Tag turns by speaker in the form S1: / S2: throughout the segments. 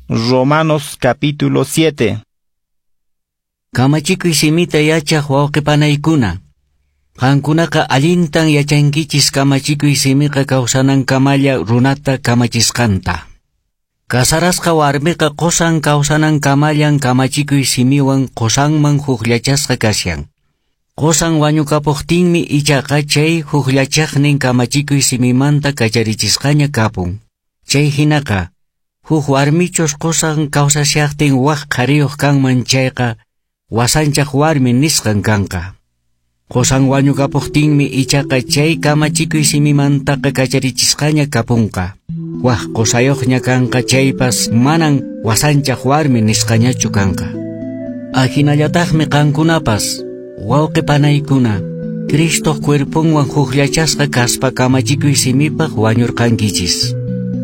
S1: Romanos capítulo 7.
S2: Kamachikuy simita yachaq wawqipanaykuna. Qankunaqa allintan yachankichis kamachikuy simiqa kawsanankamalla runata kamachisqanta. Kasarasqa warmiqa qosan kawsanankamallan kamachikuy simiwan qosanman hukllachasqa kashan. Qosan wañukapuqtinmi ichaqa chay hukllachaqnin kamachikuy simimanta kacharichisqaña kapun. Chay hinaqa, huk warmichus qosan kawsashaqtin wak qhariyuq kanman chayqa, wasanchaq warmi nisqan kanqa. Qosan wañukapuqtinmi ichaqa chay kamachikuy simimantaqa kacharichisqaña kapunqa. Wak qosayuqña kanqa chaypas manan wasanchaq warmi nisqañachu kanqa. Ahinallataqmi qankunapas, wawqi panaykuna, Cristoq cuerponwan hukllachasqa kaspa kamachikuy simipaq wañurqankichis.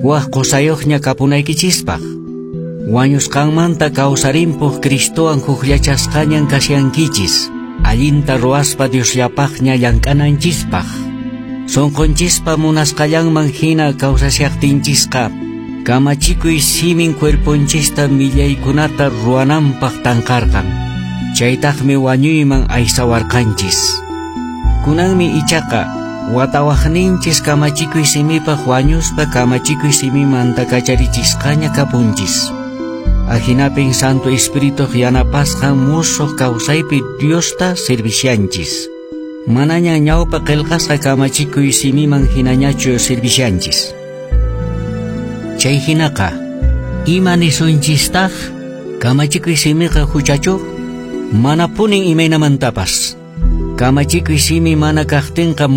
S2: Wak qosayuqña kapunaykichispaq. Wañusqanmanta kawsarimpuq Cristowan hukllachasqañan kashankichis. Allinta ruwaspa Diosllapaqña llank'ananchispaq. Sunqunchispa munasqallanman hina kawsashaqtinchisqa, kamachikuy simin cuerponchista millaykunata ruwananpaq tanqarqan. Chaytaqmi wañuyman aysawarqanchis. Kunanmi ichaqa watawaqninchis kamachikuy simipaq wañuspa kamachikuy simimanta kacharichisqaña kapunchis. Ahinapin Santo Espirituq yanapasqan musuq kawsaypi Diosta servishanchis. Manaña ñawpa qillqasqa kamachikuy simiman hinañachu servishanchis. Chay hinaqa, ima nisunchistaq? Kamachikuy simiqa huchachu? Manapunin imaynamantapas. Kamachikuy simi mana kaqtinqa.